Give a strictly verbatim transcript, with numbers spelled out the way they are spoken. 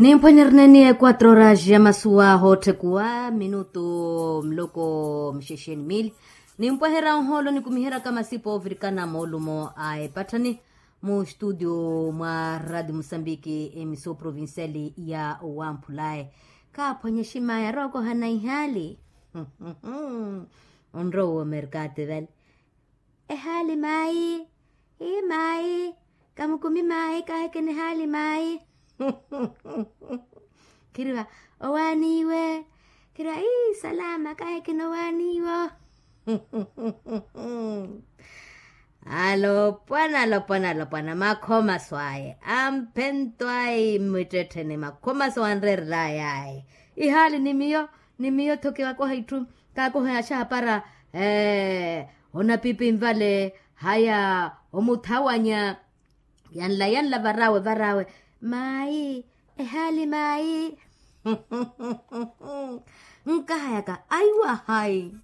Nimphwenyerene ni equatro horas ya masuwa hoottekuwa minutu mloko mxexeni mili. Nimpweherya ohoolo nikumiheryaka masipa ovirikana moolumo a epatthani, mu studio mwa radio musambiki emiso provinciali ya wamphulayi. Kaaphwanye ximaya rookohana ihaali. Onrowa omerkati vale. Ehaali mayi. Hi mayi. Kamukumi mayi kahekeni ehaali mayi. Khiriwa owaaniwe. Khiriwa ii salama kahekeni owaaniwo. Alopwana alopwana alopwana makhomaso aye amphento ayi mmwittettheni makhomaso anreerelaye ayi. Ihaali ni miyo ni miyo tho kiwakoha itthu. Kaakoha yaxapara onapipi nvale haya omuthawanya. Yanla yanla varawe varawe. Mayi. Ehaali mayi. Nkahayaka aiwa hayi.